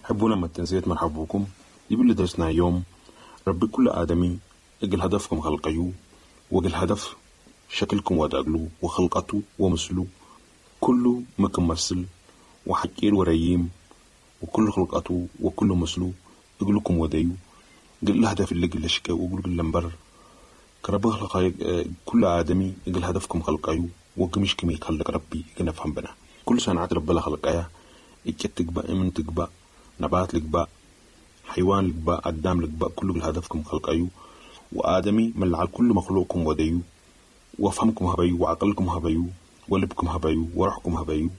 حبونا ما تنسيت مرحبوكم يبل درسنا يوم ربي كل آدمي إجل هدفكم خلقيو، وإجل هدف شكلكم وداقلو وخلقته ومثلو كله مكم مثل وحكير وريم وكل خلقته وكل مثلو إجلكم وديو. قل الهدف اللي قل شكا وقل لمبر كربه كل آدمي إجل هدفكم خلقيو وقمش كم يخلق ربي إجل نفهم بنا. كل صنعة رب خلقيا إجت تقبأ إمن تقبأ نبات لقبأ حيوان لقبأ قدام لقبأ كله هدفكم خلقيو. وآدمي من على كل مخلوقكم وديو وفهمكم هبيو وعقلكم هبيو ولبكم هبيو وروحكم هبيو.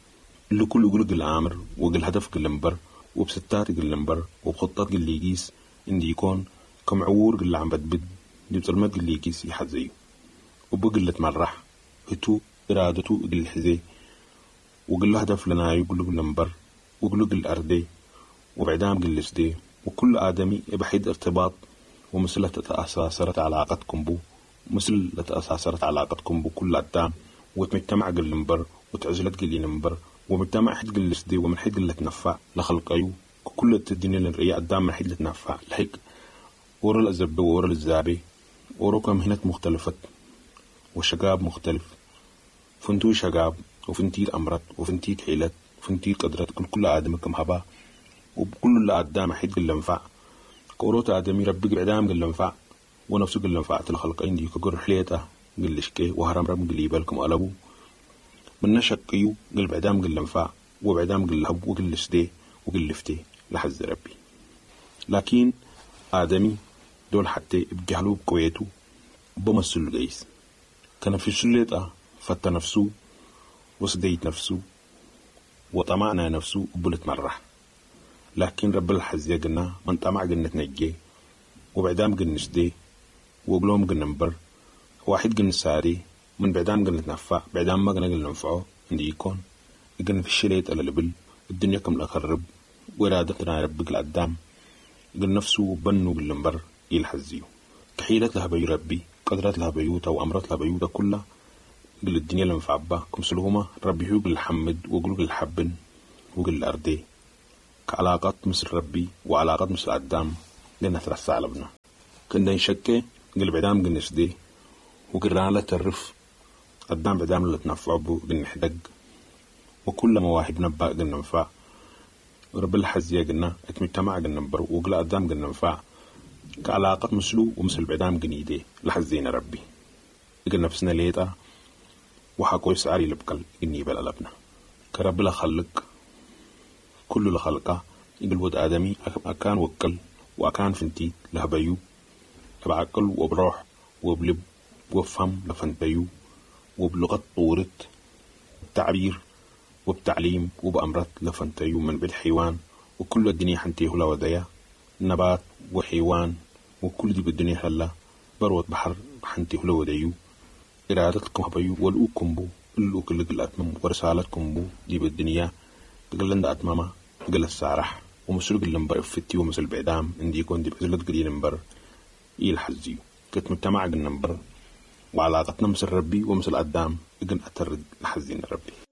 اللي كله يقول العامر وقل هدف قل وبستات قل وبخطات قل يقيس إندي يكون كم عور قل عم بدبد دي بظلمات قل يقيس يحد زيه. وبقلة مرح هتو إرادته قل حزي وقل هدف لنا يقول قل وقل قل أردي وبعدام قل سدي. وكل آدمي بحيد ارتباط ومثل تتأثرت علاقتكم بو، مثل تأثرت علاقتكم بو كل قدام وتمجتمع قل نمبر وتعزلت قل نمبر ومجتمع حد قل سدي ومن حد قل تنفع لخلق أيو. كل الدنيا الرئية قدام من حد تنفع لحق ورا الأزبة ورا الزابي ورا كم هناك مختلفة وشقاب مختلف. فنتو شقاب وفنتي أمرت وفنتي حيلت وفنتي قدرت كل آدم كم هبا. وبكل اللي قدام حد قل نفع كوروت آدمي ربي قدام قل نفع ونفسه قل نفعت الخلق عندي كجر حليته قل شكي وهرم رم قل يبالكم قلبو من نشقيو قل بعدام قل نفع وبعدام قل هب وقل سدي وقل لفتي لحز ربي. لكن آدمي دول حتى بجهلو بقويته بمثل جيس كان في شلته فت نفسه وسديت نفسه وطمعنا نفسه وبلت مرح. لكن رب الحز يقنا من طمع قلنا تنجي وبعدام قلنا سدي وقلوم قلنا نبر واحد قلنا ساري من بعدام قلنا تنفع بعدام ما قلنا ننفعه عندي يكون قلنا في الشليت على لبل الدنيا كم لخرب وإرادتنا ربك القدام قل نفسه بنو بالنبر يلحزيو كحيلت لها بيو ربي قدرت لها بيوتا وأمرت لها بيوتا كلها قل الدنيا لنفعبا كمسلهما ربي هو قل الحمد وقل الحبن وقل الأردي كعلاقات مثل ربي وعلاقات مثل قدام لنا ترسع لبنا كنا نشكي قل بعدام قل نسدي وقلنا لا ترف قدام بعدام لا تنفع بو قل نحدق وكل مواهب نبا قل ننفع رب الحزية قلنا اتمتمع قلنا نبر وقل قدام قلنا ننفع كعلاقات مثلو ومثل بعدام قنيدي لحزينا ربي قل نفسنا ليتا وحقو يسعري لبقل إني بلا لبنا كرب لخلق كل لخلقه يقول ود آدمي أكان وكل وأكان فنتي لهبيو بعقل وبروح وبلب وبفهم لفنتيو وبلغة طورت التعبير وبتعليم وبأمرت لفنتيو من بالحيوان وكل الدنيا حنتيه لوديا نبات وحيوان وكل دي بالدنيا هلا بروت بحر حنتيه لوديو إرادتكم هبيو والأوكم بو اللو كل الأتمم ورسالتكم بو دي بالدنيا قلن أتمامة قل السارح ومسلوق اللمبر فتي ومسل بعدام عندي يكون دي بزلت قليل نمبر يلحزيو كنت مجتمع قل نمبر وعلاقتنا مثل ربي ومثل قدام إجن أترد لحزين ربي.